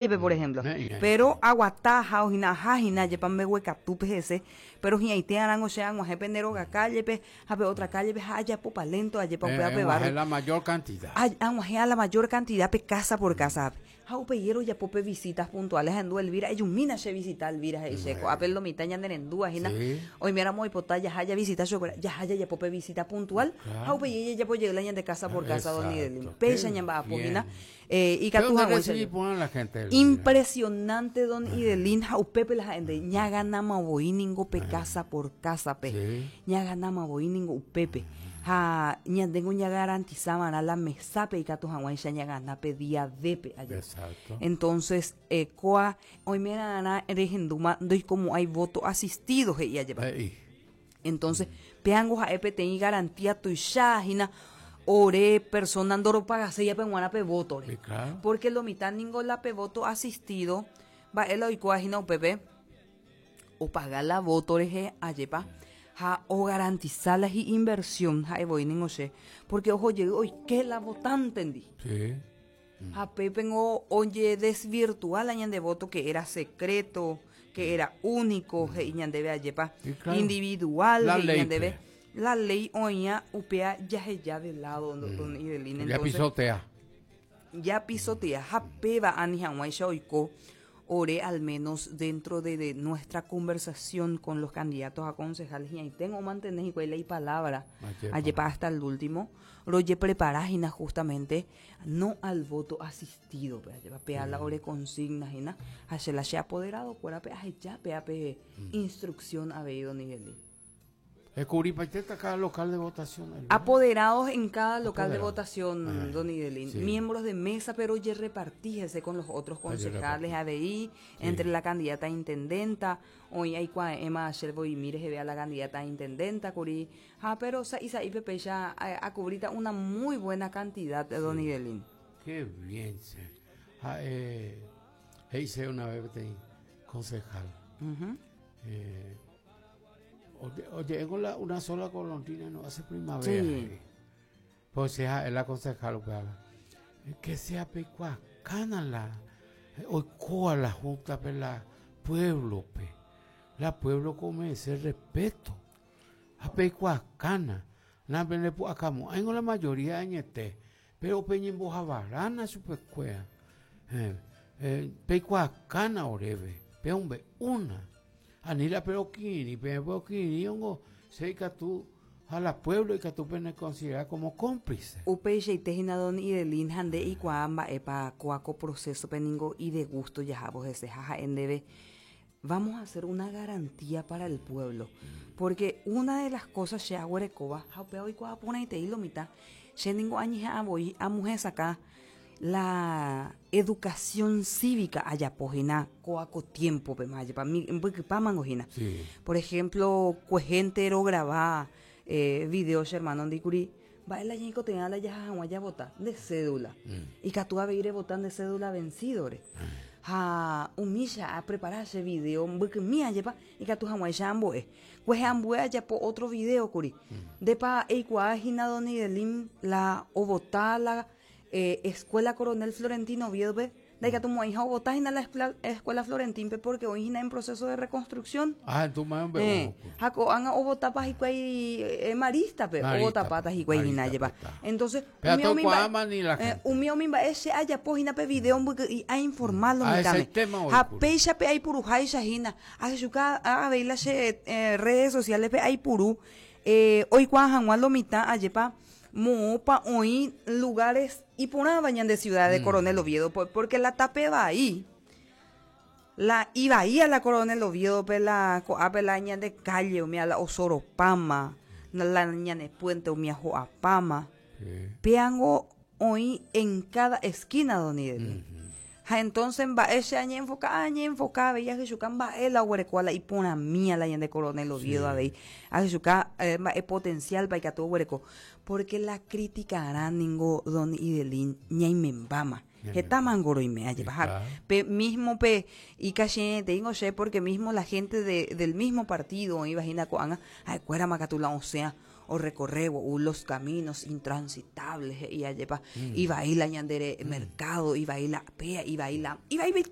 Jepe, por ejemplo. Pero aguata ha ohína aha hína jepa mbeguekatúpe hese, pero hi'ãite arãngo che ag̃uahẽ pende róga calle-pe ha pe otra calle-pe ha ajapopa lento ajepa upéva pe barrio. La mayor cantidad. Ag̃uahẽ a la mayor cantidad pe casa por casa-pe. Ha upéi rojapo pe visitas puntuales ahendu Elvira, ejumína che visita Elvira he'i che, ko'ápe lo mitã ñanerendúva hína, oiméramo oipota jaha javisita chupekuéra, jaha jajapo pe visita puntual ha upéi jajapo jey la ñande casa por casa don Idelín. Péicha ñamba'apo hína. Ikatu haguéicha. Impresionante don Idelín ha upépe la ha'énte ñaganama voi ningo pe casa por casa-pe. Ñaganama voi ningo upépe. Ha ñandéngo ñagarantisa va'erã la mesápe ikatu hag̃uáicha ñagana pe día D-pe aja. Entonces, kóa oimera'arã rehendúma ndoikomo'ãi voto asistido he'i ajépa. Entonces, péango ha'e peteĩ garantía tuicha hína ore persona ndoropagaséiape g̃uarã pe vótore. Sí, claro. Porque lo mitã ningo la pe voto asistido, mba'e la oikóva hína upépe, opaga la voto rehe, ajépa, ha ogarantisa la hi'inversión, ha'e voi ningo che, porque oho jey oike la votántendi. Sí. Ha pépengo ojedesvirtua la ñande voto que era secreto, que era único, he'i ñandéve ajépa, individual La he'i ley ñandéve. pe. La ley oĩa upéa jaheja de lado, don Idelín. Ya Entonces, pisotea. ya pisotea ha péva ani hag̃uáicha oiko ore al menos dentro de, de nuestra conversación con los candidatos a concejales hi'ãiténgo omantene hikuái la ipalabra, Ajépa. ajépa hasta el último, rojeprepara hína justamente No al voto asistido pe ajépa péa la ore consigna hína ha che la che apoderado kuérape aheja péa pe instrucción avei don Idelí. Ekubripaitéta cada local de votación, Elvira. Apoderados en cada local de Apoderado. votación, Ah, don Idelín. sí. Miembros de mesa, pero ojerreparti hese con los otros concejales Ojerreparti. avei, entre la candidata a intendenta, oĩ aikuaa'ẽma Asher Boimi reheve a la candidata a intendenta kuri, Ha pero sa'i sa'ípe péicha akuvríta una muy buena cantidad, don Idelín. Qué bien che. Ha'e he'ise una vez peteĩ concejal. Oje'éngo la una sola golondrina no hace primavera. Sí. Pues che ha'e la concejal upéva. Que sea peikuaakãna la oikóva la junta-pe la pueblo-pe. La pueblo ko omerece respeto. Ha peikuaakána, napendepu'akamo'ãingo la majoría añete, péro peñembohavarána chupekuéra. Peikuaakána oréve, peombe'úna. Ani la perokirirĩ, peẽ perokirirĩongo che ikatu ha la pueblo ikatu penekonsidera como cómplice. Upeichaite hína don Idelín ha nde eikuaa mba'épa kóa ko proceso-pe ningo idegusto jahávo hese ha ha'e ndéve Vamos a hacer una garantía para el pueblo. Porque una de las cosas che aguerekóva, ha upéva oikuaa porãitei lo mitã, che ningo añeha'ã voi amohesakã la educación cívica ajapo hína kóa ko tiempo-pema, ajépa mbykypámango hína. Sí. Por ejemplo, kuehénte rograva video che hermano ndi kuri, mba'e la ñaikotevẽ la jaha hag̃ua javota? Nde cédula. Ikatu avei revota nde cédula vencido-re. Ha umícha aprepara che video mbykymi ajépa ikatu hag̃uáicha ambo'e. Kuehe ambue ajapo otro video kuri. Ndépa eikuaa hína don Idelín la ovota la Escuela Coronel Florentino Oviedo-pe? Ndaikatumo'ãiha ovota hína la Escuela Florentín-pe porque oĩ hína en proceso de reconstrucción. Ah, entonces más Eh, ha ko'ág̃a ovotapa hikuái Marista-pe, ovotapáta hikuái hína, ajépa. Entonces, Pe umi umi mba'e, atokuaáma ni la eh, gente. umi umi mba'e che ajapo hína pe video mbyky'i ainforma lo Ah, mitãme. esaitéma Ha oikuru. péicha pe aipuruháicha hína, ahechuka avei la che eh, redes sociales-pe aipuru eh, oikuaa hag̃ua lo mitã, ajépa, Moõpa oĩ lugares iporãva ñande ciudad de Coronel Oviedo porque la tape vai, la ivaía la Coronel Oviedo-pe la ko'ápe la ñande calle umi la osoropáma, la ñane puente umi ho'apáma. Péango oĩ en cada esquina don Idelín. Ha entonces mba'e che añeenfoka? Añeenfoka avei ahechuka mba'e la oguerekóva la iporãmía la ñande Coronel Oviedo avei. Ahechuka mba'e potencial-pa ikatu oguereko. Porque la criticarã ningo don Idelín ñaimembáma. Heta mango roime, ajépa. Ha pe mismo pe ikache'ẽteíngo che porque mismo la gente de, del mismo partido oĩva hína ko'ág̃a, ha'ekuérama katu la osẽa. Orecorrévo los caminos intransitables he'i ajépa. Ivai la ñande mercado, ivai la péa, ivai la ivaivaite.